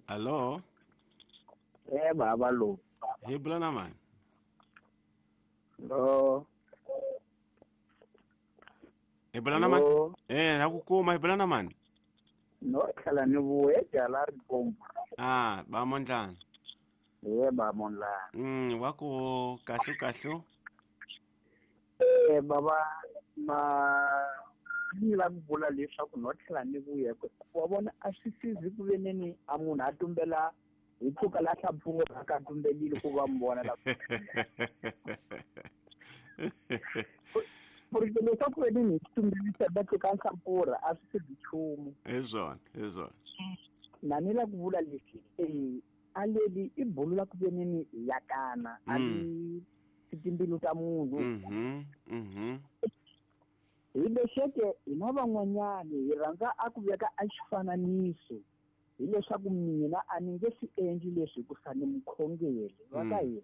Allo? Eh baba lo. Hi bula na mani? Lo. Hi bula na mani? Eh, na ku kuma hi bula na mani? No tlhela ni vuye jala ri komba. Ah, ba mondlana. Eh ba mondlana. Wa ku kahlu kahlu. Eh baba ma ni la ku vula leswaku no tlhela ni vuye wa vona a swi sizi ku veneni a munhu a tumbela hi tluka la hlapfurha ka tumbelile ku va mi vona la porque leswaku veneni hi tumbelisa va tluka hlapfurha a swi sizi nchumu. Hi swona, hi swona. Na ni la ku vula leswi a leli i bulu la ku veneni yakana a li timbilu ta munhu. Hi lexeke hina van'wanyani hi rhandza a ku veka a xifananiso hileswaku mina a ni nge swi endli leswi hikusa ni mukhongeri va ka hina.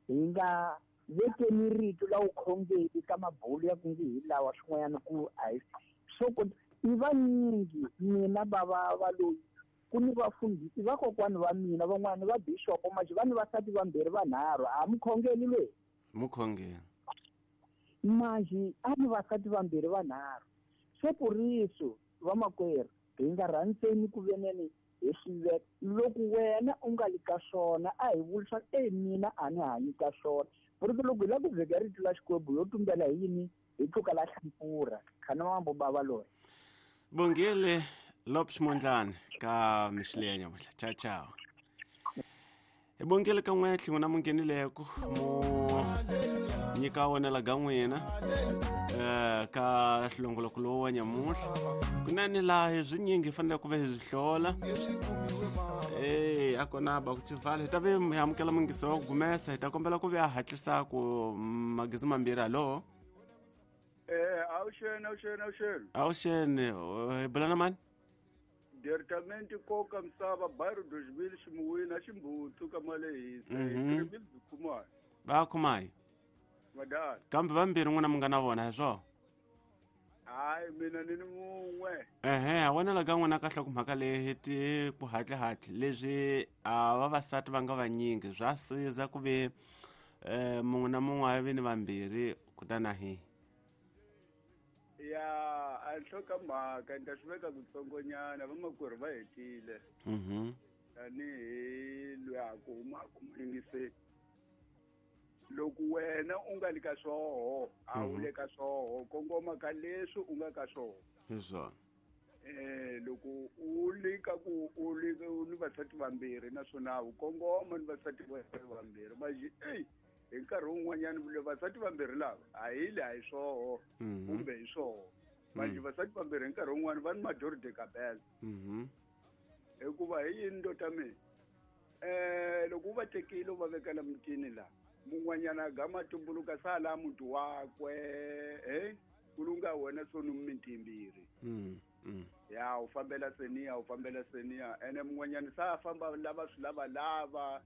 Hi nga vekeni rito la vukhongeri ka mabulu ya ku nge hi lawa swin'wanyana ku a hi swo ku i vanyingi mina bava va loyi ku ni vafundhisi vakokwani va mina van'wani va bishopo manje va ni vasati vambirhi vanharhu a mukhongeri loyi. Mukhongeri. Manje a ni vasati vambirhi vanharhu. Se puriso vamakwerhu hi nga rhandzeni ku veneni hi swi veka loko wena u nga li ka swona a hi vuli swa mina a ni hanyi ka swona. Puriso loko hi lava ku veka rito la Xikwembu yo tumbela hi yini hi tluka la hlampfurha khana mambo bava loyi. Bongile Lopes Mondlane ka mixile ya nyamuhla. Ciao ciao. Hi bongile ka n'we tlhingo na munghenileko mo nyika wona la ga n'wina ka hlongoloko lowu wa nyamuhla kunene laha hi swinyingi hi fanele ku va hi swi hlola a kona ba ku xivala hi ta ve hi amukela mungisi wa ku gumesa hi ta kombela ku ve a hatlisa ku magezi mambirhi. Hallo? Awuxeni awuxeni awuxeni. Awuxeni hi bula na mani? Department koka misava bairro 2000 ximuwini a ximbutsu ka malehisa. Mm-hmm. Va khumayo. Madala. Kambe vambirhi n'wina mi nga na vona hi swona? Hayi mina ni ni mun'we. Ehe, a wena la ka n'wina kahle ku mhaka leyi ti ku hatlihatli leswi a vavasati va nga vanyingi swa siza ku ve mun'we na mun'we a vi ni vambirhi kutani a hi. Ya a nhloko mhaka ni ta swi veka kutsongonyana vamakwerhu va hetile. Tanihi loyi a ku humaka muyingiseni. Loko wena u nga li ka swoho a wu le ka swoho kongoma ka leswi u nga ka swoho. Hi swona. Loko u li ka ku u li ni vasati vambirhi naswona u kongoma ni vasati vambirhi manje hi nkarhi wun'wanyana vasati vambirhi lava a hi le a hi swoho kumbe hi swoho manje vasati vambirhi hi nkarhi wun'wana va ni mador de cabela. Hikuva hi yini ndota mina loko u va tekile u va vekela mutini la mun'wanyana gama tumbuluka sala muti wakwe ku lunga wena soni mimiti yimbirhi. Ya u fambela seniya u fambela seniya ene mun'wanyana sa famba lava swi lava lava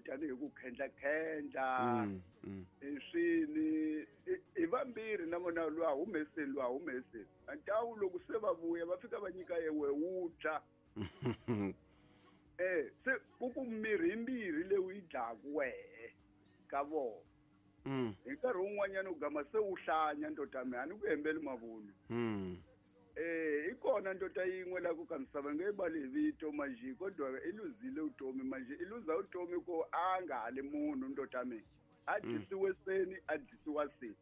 tanihi ku khendla khendla swini i vambirhi na vona lwa humeseni lwa humeseni antawu loko se va vuya va fika va nyika yewe wu dya. Se ku ku mirhi yimbirhi leyi yi dlaku wehe ka vona. Hi nkarhi wun'wanyana u gama se wu hlanya ndota mina a ni ku hembeli mavunwa. I kona ndota yin'we la ku ka misava nge bali hi vito manje kodwa i luzile vutomi manje i luza vutomi ku a nga ha li munhu ndota mina. A dyisiwe seni a dyisiwa seni.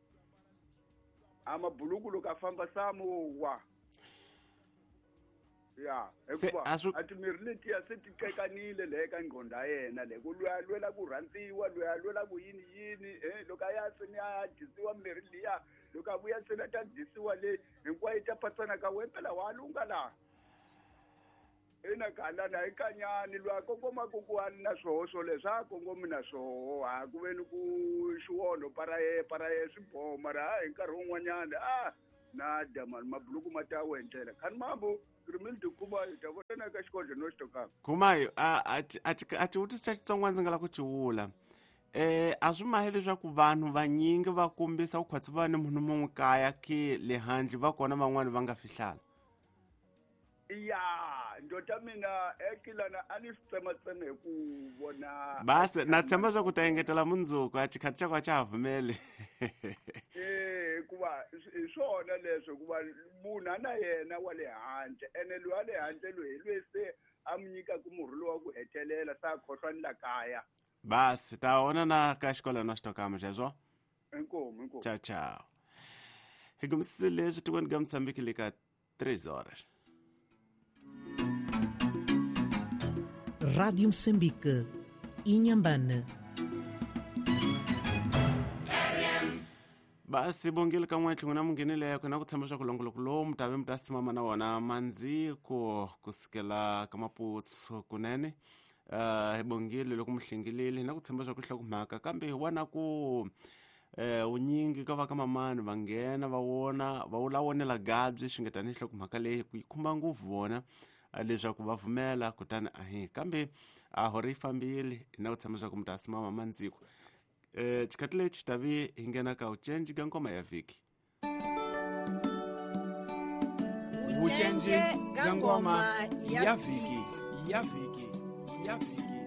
A mabuluku loko a famba samu wa. Ya, hikuva a timirhi letiya se ti qekanile le ka ngqondo ya yena le ku lweya lwela ku rhandziwa lweya lwela ku yini yini loko a ya seni a dyisiwa mirhi liya loko a vuya seni a ta dyisiwa le hinkwayo yi ta patsana ka wena phela wa lunga laha. Ina galana hi kanyani lwa kongoma ku ku a na swoho swoleswo a kongomi na swoho a ku veni ku xiwonho paraye paraye swi boho mara hi nkarhi wun'wanyana a na dama mabuluku ma ta wendlela khani mambo rimildi Khumayo ta vona ka xikodlo no xitokaka. Khumayo a xivutiso xa Xitsonga ndzi nga lava ku xi vula a swi mahi leswaku vanhu vanyingi va kombisa ku khwatsi va ni munhu mun'we kaya ke le handle va kona van'wani va nga fihlala. Ya, ndota mina ekilana a ni swi tsematseme hi ku vona. Basi na tshemba swa ku ta engetela mundzuku, a xikhathi xa ku a xa ha pfumeli. Eh, hikuva hi swona leswo, hikuva munhu a na yena wa le handle, ene loyi a le handle loyi hi loyi se a mi nyikaka murhi lowu wa ku hetelela, se a khohlwa ni la kaya. Basi ta vona na ka xikolo na xitokama xexo. Inkomu, inkomu. Ciao, ciao. Hi kumisise leswi tikweni ka Mozambique le ka 3 horas. Rádio Moçambique, Inhambane. Basi bongile ka n'we tlhingo na munghenile ku na ku tshemba swa ku longoloko lowu mi ta ve mi ta simama na wona mandziko kusukela ka Maputsu kunene. Hi bongile loko mi hlengilile na ku tshemba swa ku hlokomhaka, kambe hi vona ku vunyingi ka va ka mamani va nghena va vona va wula vonela gabyi xi nga tanihi hlokomhaka leyi ku yi khumba ngopfu vona leswaku va pfumela, kutani ahi kambe a hore yi fambile na ku tshemba swa ku mi ta simama mandziko. Xikhathi lexi tavi hi nghena ka vucenji ka ngoma ya vhiki. Vucenji ka ngoma ya vhiki, ya vhiki, ya vhiki.